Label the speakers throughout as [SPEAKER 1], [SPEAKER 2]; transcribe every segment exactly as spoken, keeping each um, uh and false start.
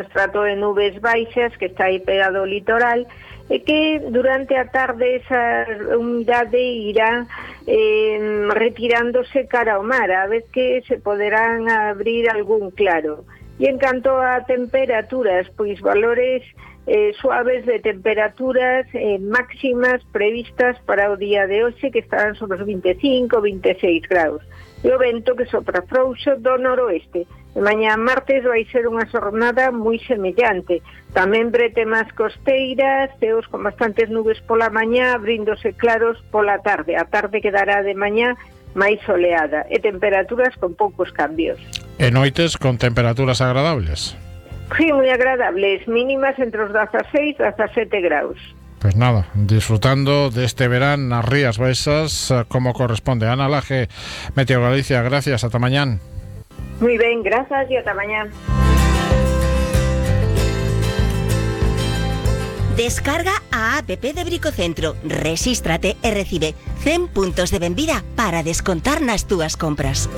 [SPEAKER 1] estrato de nubes baixas que está aí pegado ao litoral, e que durante a tarde esa humidade irá eh, retirándose cara ao mar, a vez que se poderán abrir algún claro. E en canto a temperaturas, pois valores eh, suaves de temperaturas eh, máximas previstas para o día de hoxe, que estarán sobre os veinticinco, veintiséis graus. E o vento que sopra frouxo do noroeste. De mañá martes vai ser unha xornada moi semellante. Tamén bretemas costeiras, ceos con bastantes nubes pola mañá, abríndose claros pola tarde. A tarde quedará de mañá máis soleada e temperaturas con poucos cambios.
[SPEAKER 2] E noites con temperaturas agradables?
[SPEAKER 1] Sí, moi agradables, mínimas entre os dieciséis e diecisiete graus.
[SPEAKER 2] Pues nada, disfrutando de este verán nas Rías Baixas como corresponde. Ana Laje, Meteo Galicia, gracias, ata mañán.
[SPEAKER 1] Muy ben, grazas e ata mañán.
[SPEAKER 3] Descarga a app de Bricocentro, resístrate e recibe cen puntos de benvida para descontar nas túas compras.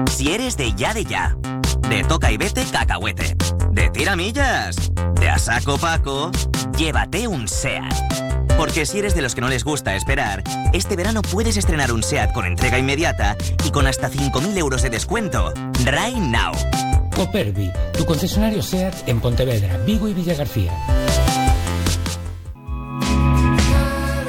[SPEAKER 4] Si eres de ya de ya, de toca y vete cacahuete, de tiramillas, de a saco Paco, llévate un SEAT. Porque si eres de los que no les gusta esperar, este verano puedes estrenar un SEAT con entrega inmediata y con hasta cinco mil euros de descuento. Right now.
[SPEAKER 5] Copervi, tu concesionario SEAT en Pontevedra, Vigo y Villagarcía.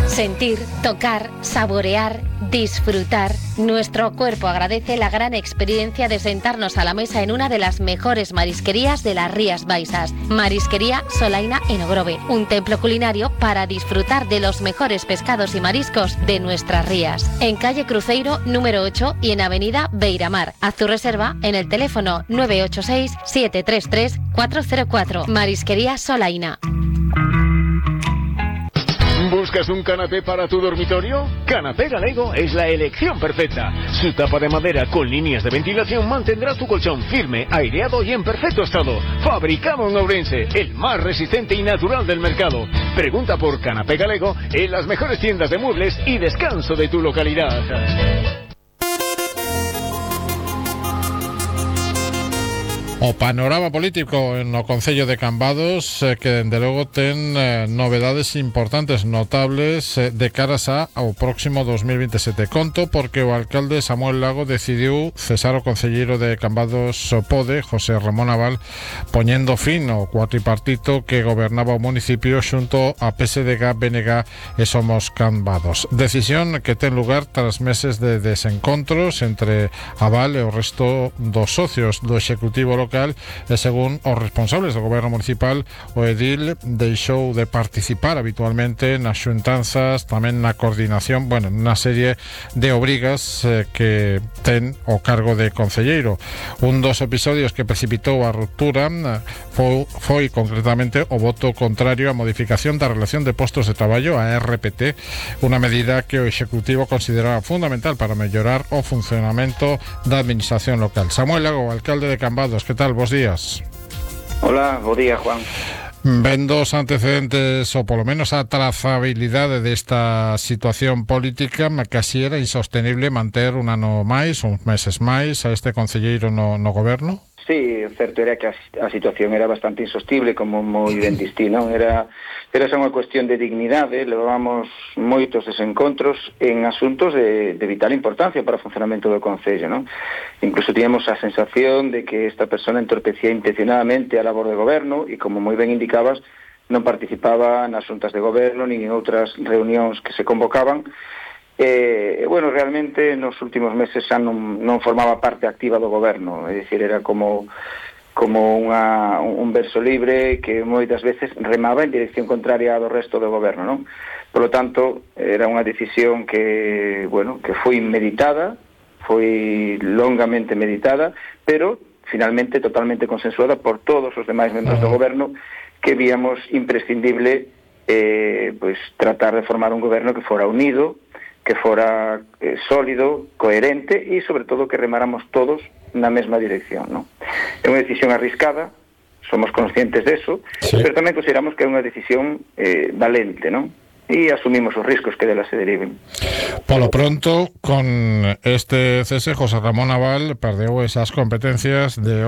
[SPEAKER 6] Sentir, tocar, saborear, disfrutar. Nuestro cuerpo agradece la gran experiencia de sentarnos a la mesa en una de las mejores marisquerías de las Rías Baixas. Marisquería Solaina en Ogrove, un templo culinario para disfrutar de los mejores pescados y mariscos de nuestras rías. En calle Cruzeiro número ocho y en avenida Beiramar. Haz tu reserva en el teléfono nueve ocho seis, siete tres tres, cuatro cero cuatro. Marisquería Solaina.
[SPEAKER 7] ¿Buscas un canapé para tu dormitorio? Canapé Galego es la elección perfecta. Su tapa de madera con líneas de ventilación mantendrá tu colchón firme, aireado y en perfecto estado. Fabricado en Ourense, el más resistente y natural del mercado. Pregunta por Canapé Galego en las mejores tiendas de muebles y descanso de tu localidad.
[SPEAKER 2] O panorama político en o Concello de Cambados eh, que dende logo ten eh, novedades importantes, notables eh, de caras a, ao próximo dos mil veintisiete. Conto porque o alcalde Samuel Lago decidiu cesar o concelleiro de Cambados Pode, José Ramón Aval, poñendo fin ao cuatripartito que gobernaba o municipio xunto a P S D G, B N G e Somos Cambados. Decisión que ten lugar tras meses de desencontros entre Aval e o resto dos socios do Executivo local e según os responsables do goberno municipal, o edil deixou de participar habitualmente nas xuntanzas, tamén na coordinación, bueno, na serie de obrigas eh, que ten o cargo de concelleiro. Un dos episodios que precipitou a ruptura eh, foi, foi concretamente o voto contrario á modificación da relación de postos de traballo, a R P T, unha medida que o Executivo consideraba fundamental para mellorar o funcionamento da administración local. Samuel Lago, alcalde de Cambados, que tal? Bos días.
[SPEAKER 8] Hola, bo día, Juan.
[SPEAKER 2] Vendo os antecedentes, ou polo menos a trazabilidade desta situación política, que así era insostenible manter un ano máis, uns meses máis, a este concelleiro no, no goberno?
[SPEAKER 8] Sí, o certo era que a, a situación era bastante insostible, como moi ben distí, non? Era, era xa unha cuestión de dignidade, levábamos moitos desencontros en asuntos de, de vital importancia para o funcionamento do Concello, non? Incluso tíamos a sensación de que esta persona entorpecía intencionadamente a labor de goberno e, como moi ben indicabas, non participaba nas xuntas de goberno nin en outras reunións que se convocaban. E, eh, bueno, realmente nos últimos meses xa non, non formaba parte activa do goberno, é dicir, era como como unha, un verso libre que moitas veces remaba en dirección contraria do resto do goberno, non? Por lo tanto, era unha decisión que, bueno, que foi meditada, foi longamente meditada, pero finalmente totalmente consensuada por todos os demais membros do goberno, que víamos imprescindible eh, pues, tratar de formar un goberno que fora unido, que fora eh, sólido, coherente e, sobre todo, que remáramos todos na mesma dirección, non? É unha decisión arriscada, somos conscientes deso, sí, pero tamén consideramos que é unha decisión eh, valente, non? E asumimos os riscos que dela se deriven.
[SPEAKER 2] Polo pronto, con este cese, José Ramón Aval perdeu esas competencias de